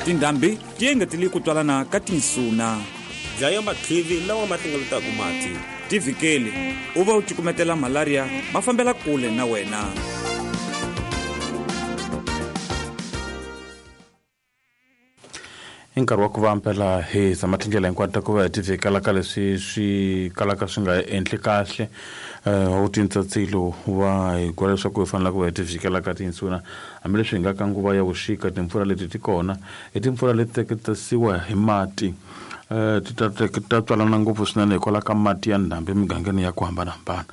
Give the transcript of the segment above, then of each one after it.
Tindhambi ti engetele ku twalana ka tinsuna. Dlaya matlhivi lawa ma hlengeletaka mati. Tivhikeli u va u cukumetela malaria ma fambela kule na wena. I nkarhi wa ku va mpela hi zama tindlela hinkwato ta ku va hi tivhikela ka leswi swi kalaka swi nga endli kahle. Wu tintsatsilo wa hi gwela leswaku hi fanele ku va hi tivhikela ka tinsuna, hambileswi hi nga ka nguva ya vuxika. Timpfula leti ti kona i timpfula leti teketisiwa hi mati, ti ta ta tswalana ngopfu swinene hikwalaho ka mati ya ndhambi emigangeni ya ku hambanahambana.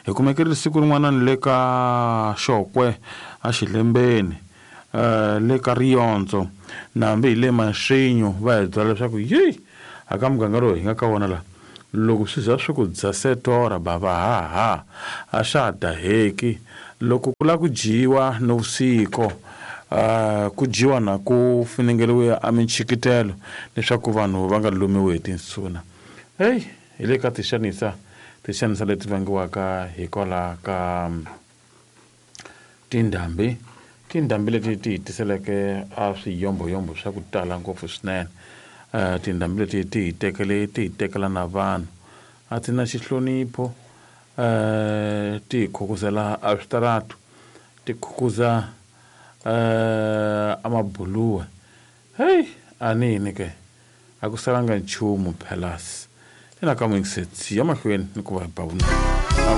Hi kumekerile siku rin'wana ni le ka Xokwe a Xilembeni, le ka Riyondzo, na hambi hi le Maxinyo, va hi byela leswaku yi a ka muganga lowu hi nga ka wona la, loko swi za swi ku dzasetora bava ha ha a swa ha daheki. Loko ku lava ku dyiwa nivusiku, ku dyiwa na ku funengeriwe a minchikitelo leswaku vanhu va nga lumiwi hi tinsuna. Heyi, hi le ka tixanisa, tixanisa leti vangiwaka hikwalaho ka tindhambi, tindhambi leti ti hi tiseleke a swiyomboyombo swa ku tala ngopfu swinene. Tindhambi leti ti hi tekele, ti hi tekela na vanhu, a ti na xihlonipho, ti hi khukuzela a switaratu, ti khukuza a mabuluwe. Heyi, a ni yini ke, a ku salanga nchumu phelas. Ina ka muyingiseti ya mahlweni ni ku va hi ba vunanga.